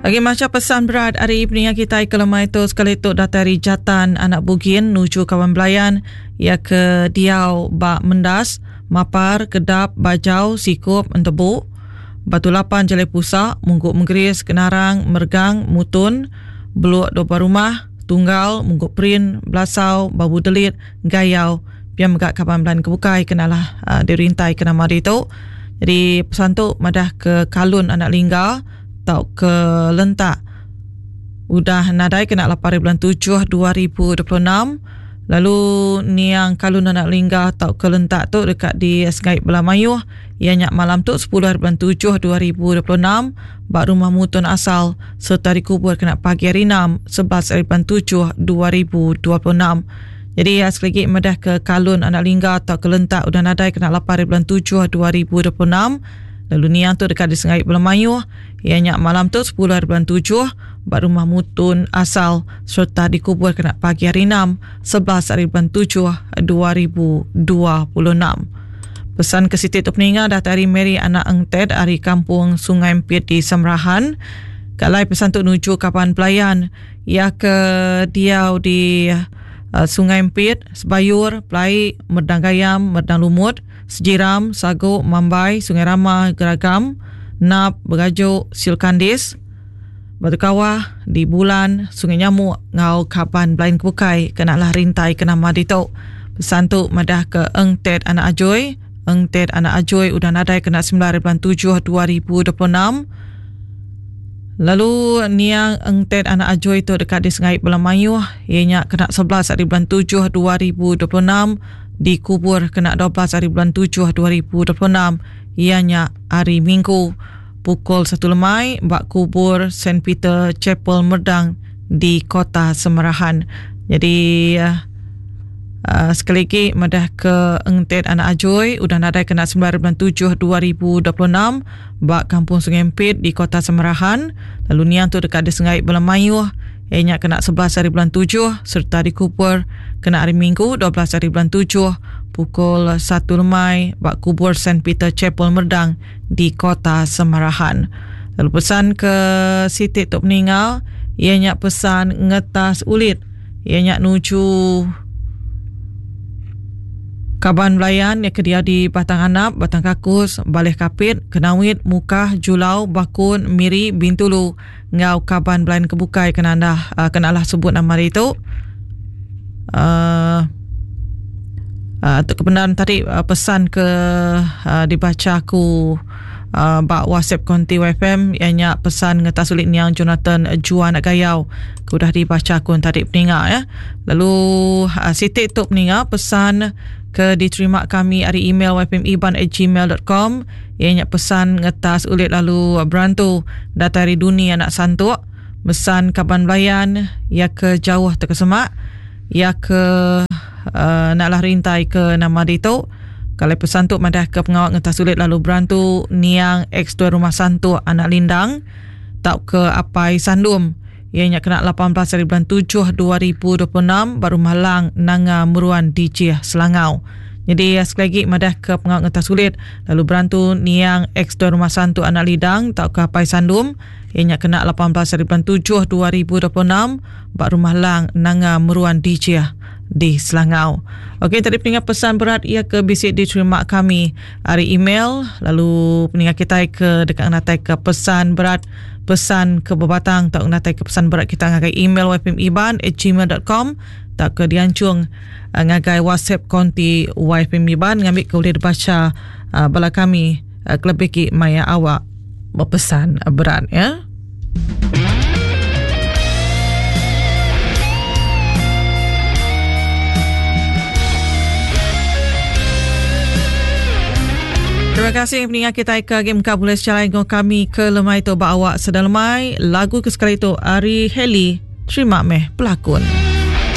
Agi macha pesan berat ari peninga kitai ke lemai tu sekali tu datai ari Jatan anak Bugin nuju kaban belayan iya ke diau ba Mendas, Mapar, Kedap, Bajau, Sikup, Entebu, Batu Lapan Jalai Pusa, Munggu Menggeris, Kenarang, Mergang, Mutun, Beluk Dua Rumah, Tunggal, Munggu Perin, Belasau, Babu Delit, Gayau, pia mega kaban belayan ke bukai ke nalah dirintai ke nama ditu. Jadi pesan tu madah ke Kalun anak Lingga tauka Lentak udah nadai kena 8 hari bulan 7 2026 lalu niang Kalun anak Lingga tauka Lentak tu deka disengai bala mayuh iya nya malam tu 10 hari bulan 7 2026 ba rumah mutun asal sereta dikubur kena pagi hari 6 11 hari bulan 7 2026. Jadi iya sekali agi madah ke Kalun anak Lingga tauka Lentak udah nadai kena 8 hari bulan 7 2026 lalu niang tu deka disengai bala mayuh iya nya malam tu 10 hari bulan 7 ba rumah Mutun asal sereta dikubur kena pagi hari 6 11 hari bulan 7 2026. Pesan ke siti tu peninga datai ari Mary anak Engted ari Kampung Sungai Empit di Samrahan. Kalai pesan tu nuju kaban pelayan Iya ke diau di Sungai Empit, Sebayur, Pelai, Merdang Gayam, Merdang Lumut, Sejiram, Sagu, Mambai, Sungai Rama, Geragam, Nap, Begaju, Silkandis, Batu Kawah, di Bulan, Sungai Nyamuk enggau kaban belain ke bukai ke nalah rintai ke nama ditu. Pesan tu madah ke Eng Ted anak Ajoi. Eng Ted anak Ajoi udah nadai kena 9 hari bulan 7 2026. Lalu niang Eng Ted anak Ajoi tu deka disengai bala mayuh iya nya kena 11 hari bulan 7 2026 dikubur kena 12 hari bulan 7 2026 iya nya hari Minggu pukul 1 lemai ba kubur Saint Peter Chapel Merdang di Kota Semerahan. Jadi Sekali agi madah ke Eng Ted anak Ajoi udah nadai kena 9 hari bulan 7 2026 ba Kampung Sungai Empit di Kota Samarahan lalu niang tu deka disengai bala mayuh iya nya kena 11 hari bulan 7 sereta dikubur kena hari Minggu 12 hari bulan 7 pukul 1 lemai ba kubur Saint Peter Chapel Merdang di Kota Samarahan. Lalu pesan ke siti tu peninga iya nya pesan ngetas ulit Iya nya nuju kaban belayan iya ke diau di Batang Anap, Batang Kakus, Baleh Kapit, Kenawit, Mukah, Julau, Bakun, Miri, Bintulu enggau kaban belayan ke bukai ke nandah ke nalah sebut nama ditu. Uh, uh, tu kebenaran tadi uh, pesan ke uh, dibaca aku uh, ba WhatsApp konti YFM iya nya pesan ngetas ulit niang Jonathan Juan Gayau ke udah dibaca aku tadi peninga ya. Lalu uh, siti tu peninga pesan ke diterima kami ari email yfmiban@gmail.com iya nya pesan ngetas ulit lalu berantu datai ari Duni anak Santuk mesan kaban belayan iya ke jauh terkesemak iya ke uh, naklah rintai ke nama ditu Kalai pesan tu madah ke pengawa ngetas ulit lalu berantu niang ex tuai rumah Santuk anak Lindang tauka apai Sandum iya nya kena 18 hari bulan 7 2026 ba Rumah Lang Nanga Meruan Dijih Selangau. Jadi sekali lagi madah ke pengawa ngetas ulit lalu berantu niang ex tuai rumah Santuk anak Lidang tauka apai Sandum iya nya kena 18 hari bulan 7 2026 ba Rumah Lang Nanga Meruan Dijih di Selangau. Okey tadi peninga pesan berat ia ke bisi diterima kami ari email lalu peninga kitai ke deka ngenatai ke pesan berat pesan ke bebatang tau ngenatai ke pesan berat kita ngagai email ypmiban@gmail.com tauka dianjung eh, ngagai WhatsApp konti YFM Iban ngambi ke ulih dibaca eh, bala kami eh, kelebih ki maya awak bepesan berat ya. Terima kasih peninga kita ke game ka boleh secara dengan kami ke lemai tu ba awak sedang lemai lagu ke sekali tu ari Heli terima meh pelakon.